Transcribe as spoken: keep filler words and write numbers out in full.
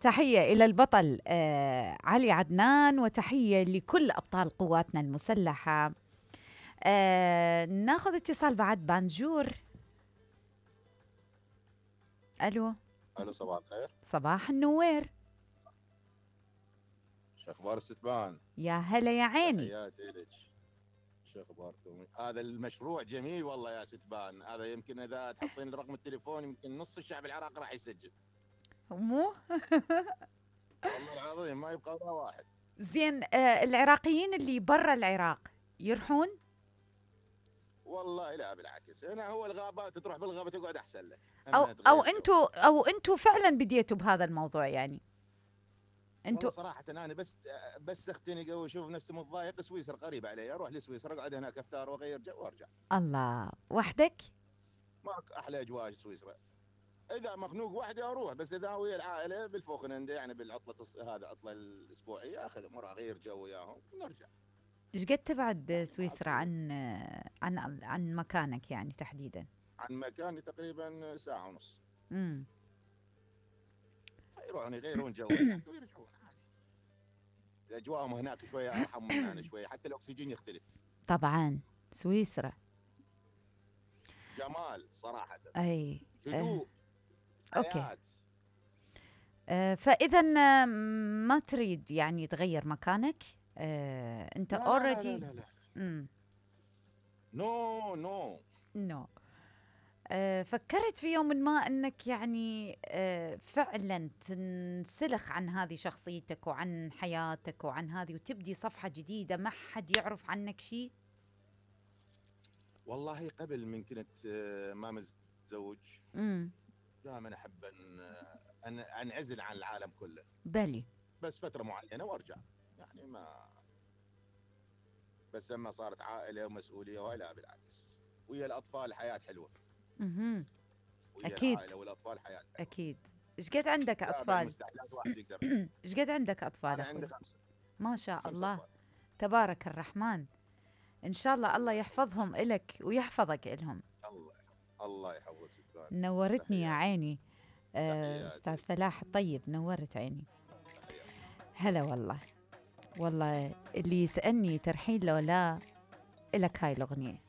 تحية إلى البطل آه علي عدنان، وتحية لكل أبطال قواتنا المسلحة. آه ناخذ اتصال بعد. بانجور. ألو. الو صباح الخير. صباح النوير. شو اخبار الستبان؟ يا هلا يا عيني. تحياتي لك. شو اخباركم؟ هذا المشروع جميل والله يا ستبان، هذا يمكن اذا تحطين رقم التليفون يمكن نص الشعب العراقي راح يسجل. مو والله العظيم ما يبقى ولا واحد. زين. آه العراقيين اللي برا العراق يروحون؟ والله لا بالعكس، انا هو الغابات تروح بالغابه تقعد احسن لك. او او انتوا او انتوا فعلا بديتوا بهذا الموضوع يعني؟ انتوا صراحه انا بس بس اختنق واشوف نفسي متضايق، سويسرا قريب علي، اروح لسويسرا اقعد هناك افطار واغير جو وارجع. الله. وحدك؟ ماك احلى اجواء سويسرا. اذا مخنوق وحدي اروح، بس اذا ويا العائله بالفوخننده يعني بالعطله هذا العطله الاسبوعيه اخذ مره اغير جو وياهم ونرجع. ايش قد تبعد سويسرا عن عن عن مكانك يعني تحديدا؟ عن مكاني تقريبا ساعه ونص. امم يروحون يغيرون جو هناك ويرجعون عادي. اجواءهم هناك شويه ارحم من هنا شويه، حتى الاكسجين يختلف. طبعا سويسرا جمال صراحه. اي هدوء. آه. اوكي. آه فاذا ما تريد يعني تغير مكانك؟ آه انت اوريدي. لا لا لا لا نو نو نو. آه فكرت في يوم ما انك يعني آه فعلا تنسلخ عن هذه شخصيتك وعن حياتك وعن هذه وتبدي صفحة جديدة ما حد يعرف عنك شيء؟ والله قبل من كنت آه ما متزوج امم دائما احب ان ان انعزل عن العالم كله. بلي. بس فتره معينه وارجع يعني ما. بس لما صارت عائله ومسؤوليه ولا بالعكس، ويا الاطفال حياه حلوه. اها ويا اكيد. العائله والاطفال حياه حلوه. اكيد. ايش قد عندك اطفال؟ مستحيلات واحد يقدر. ايش قد عندك اطفال؟ انا أخوي؟ عندي خمسه. ما شاء خمسة الله. أطفال. تبارك الرحمن. ان شاء الله الله يحفظهم إلك ويحفظك إلهم. الله الله يحفظ ستات. نورتني يا عيني. آه استاذ فلاح الطيب، نورت عيني. هلا والله. والله اللي يسألني ترحيل لو لا، إلك هاي الأغنية.